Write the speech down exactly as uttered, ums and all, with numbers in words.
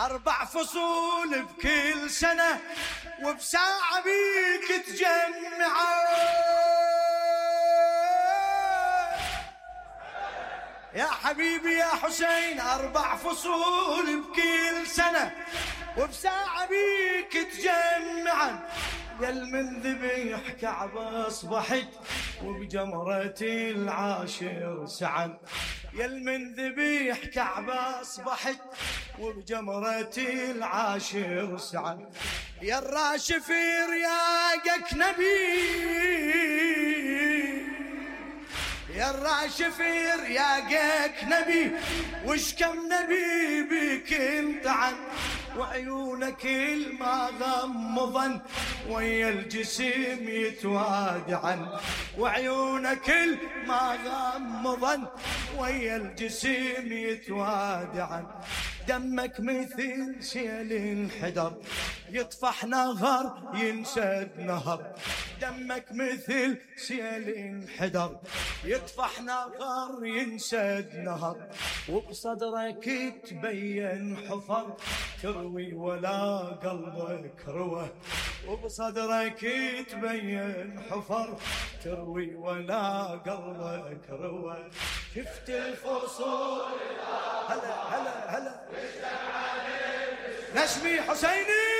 أربع فصول بكل سنة وبساعة بيك تجمعه يا حبيبي يا حسين. أربع فصول بكل سنة وبساعة بيك تجمعا يل من ذبيح كعبة أصبحت وبجمرة العاشر سعن يل من ذبيح كعبة أصبحت وبجمرة العاشر سعن يا الراشف رياقك نبي يا الراشف رياقك نبي وش كم نبي بك انطعن وعيونك الما غمضن ويا الجسم يتوادعن وعيونك الما غمضن ويا الجسم يتوادعن دمك مثل سيل انحدر يطفح نهر ينسد نهر دمك مثل سيل انحدر يطفح نهر ينسد نهر وبصدرك تبين حفر تروي ولا قلبك روى وبصدرك تبين حفر تروي ولا قلبك روى شفت الفصول هلا هلا هلا نشمي حسيني